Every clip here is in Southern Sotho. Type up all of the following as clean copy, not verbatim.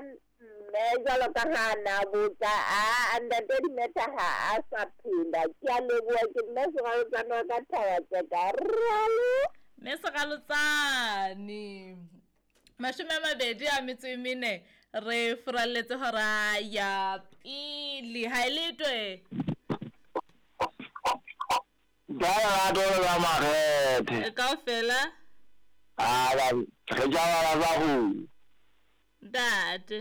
mme jwalo ka ha a na botsa a ntate Dimetha ha a sa phela. Ke a leboha ke mme Seralotsane wa ka Thabatseka. Ralo. Mme Seralotsane. 24 re furalletse hora ya pele. Ha e letwe. Ka lerato le ka makgethe. Kaofela. A ba re tšabala sa go. Ntate.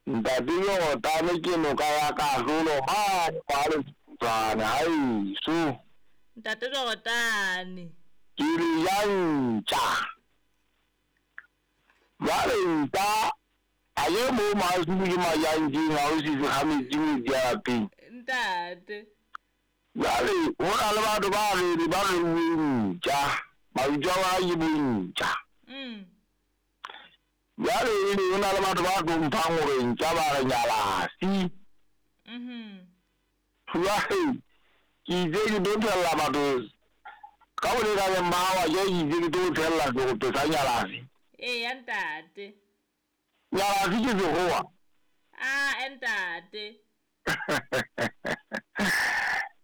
Ntate Jorotane ke noka ya kahlolo mane kwa Letswane haeso. Ntate Jorotane. Ke le ja ntja. Jwale nta a ye mo maasimo ke majantjeng ha o sise ga metsi metsi a lapeng. Ntate. Jwale ho na le batho ba re ba re ntja. Mabitso a bona ke bontja. Jwale ho na le batho ba hlomphang hore ntja ba re nyalasi. Jwale ke itse ke tlo tshella batho ka bolekaneng ba hao ke itse ke tlo tshella serope sa nyalasi. Eya ntate. Nyalasi ke sekgowa. A ntate.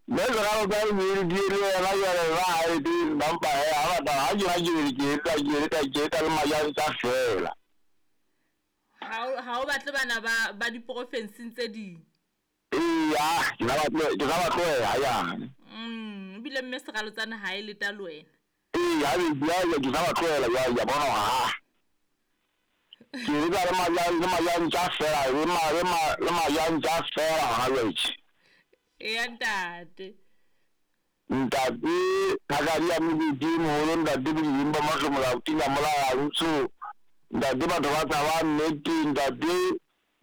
Mme Seralotsane ke eledile le yena jwale ba hae teng ba mpa he ha batla ha ke na ke ke etsa ke etsa ke etsa le majantja fela. Ha o batle bana ba diporofenseng tse ding. Eya, ke sa ba tlohela jane. Ebile mme Seralotsane ha e leta le wena. Eya, ke sa ba tlohela jwale ke bona hore ha. Ke etsa le majantja fela le majantja fela hona jwale. Eya ntate. Ntate Thakadi ya Mokete moholo ntate Bodibeng ba Mahlomola Tina Molaya Ntsho ntate batho ba tshaba nnete ntate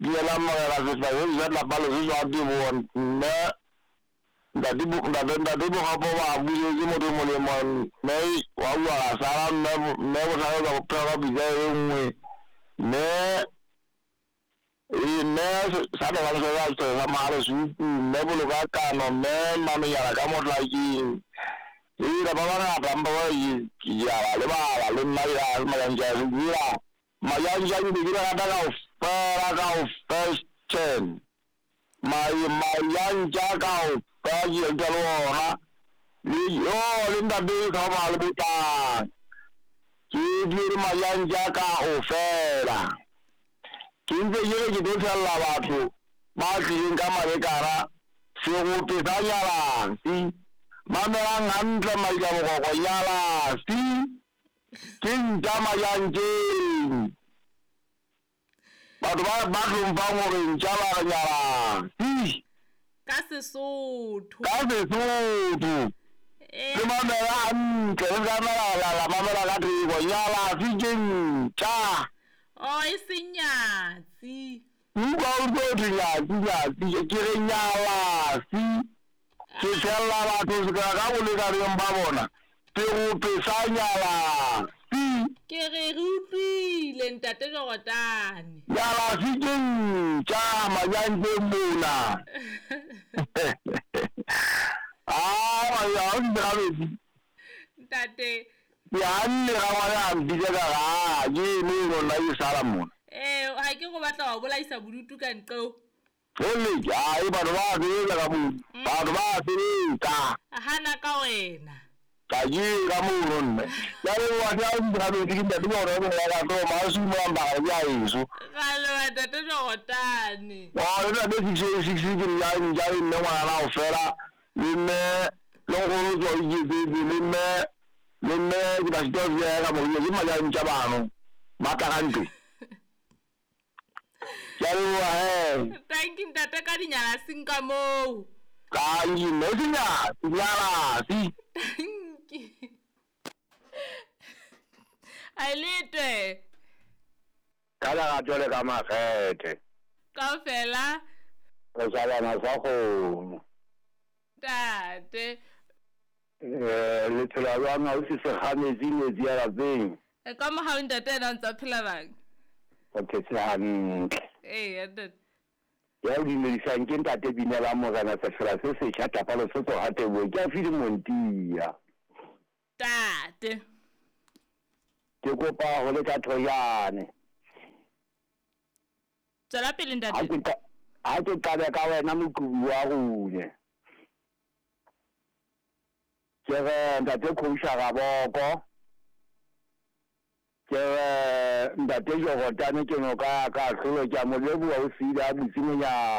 Dumelang Morena Sehlahedi sa tlapa Lesotho a Teboho mme ntate ntate ntate Bokgapo ba busetse motho molemo mme wa bua ra sala mme mme bohlale ka bophelo ka pitsa e nngwe mme mme sa tlogang se sa sa mahale supu mme boloka kano mme mamenyana ka motlakeng ira ba bangata mpa ba ke a ba lebala le nna ke a majantja ira majantja ke be ke rata kaofela kaofela majantja kaofela ke etsa le ona le yo le ntate ka ba le botang ke dire majantja kaofela. Ke ntse ke re ke tlo tshella batho ba tlileng ka malekara serope sa nyalasi. Mamelang hantle maila bokoko nyalasi ke ntja majantjeng. Batho ba hlomphang hore ntja ba re nyalasi. Ka Sesotho. Ka Sesotho. Le mamela hantle le ka la mamela ka theko nyalasi ke ntja. Oh, e seng nyatsi. Utlwa o tlo thwe nyatsi nyatsi ke re nyalasi. Ke tshella batho se ka bolekaneng ba bona. Serope sa nyalasi. Ke re re utlwile ntate Jorotane. Nyalasi ke ntja majantjeng mona. Ah, ya o di metsi. Ntate. Ke hanne ga ngwana a mpitsa ka ga ke eno nna ke sala mona. Ha ke go batla wa bolaisa bodutu ka nqeo. Hele, ai batho ba sebetsa ka moo. Batho ba sebetsa. Hana ka wena. Ka ke ka mono nne. Ya le wa tla o dira metsi ke ntate gore o ya ka tlo ma su mo ba ga ya eso. Ga le wa ntate Jorotane. Wa le ntate 6 6 ke ya nja le mme ngwana o fela le mme le go tswa iketsetse le mme le mme ke ba sitwa ya ka mo ke majantja bano ba tla hantle. Ke a leboha he. Thank you ntate ka dinyalasing ka moo. Ka mme ke nyalasi. Thank you. Ailitwe. Ka lerato le ka makgethe. Kaofela. Re shabana sa kgomo. Ntate. Le phela jwang ha o se ga metsi metsi ya lapeng? Ka mohau ntate ena o ntsa phela bang? O phetse hantle. Eya ntate. Ya o dumedisang ke ntate Binela Morena Sefela se setjha Tlapa Lesotho ha Teboho ke a file Montia. Ntate. Ke kopa ho leka thojane. Tswela pele Ha ntate. ke qa- ha ke qale ka wena moqobi wa rone. Ke re ntate Khousha Raboko. Ke re ntate Jorotane ke noka ya ka hlolo ke a mo leboha o siile a butse monyako.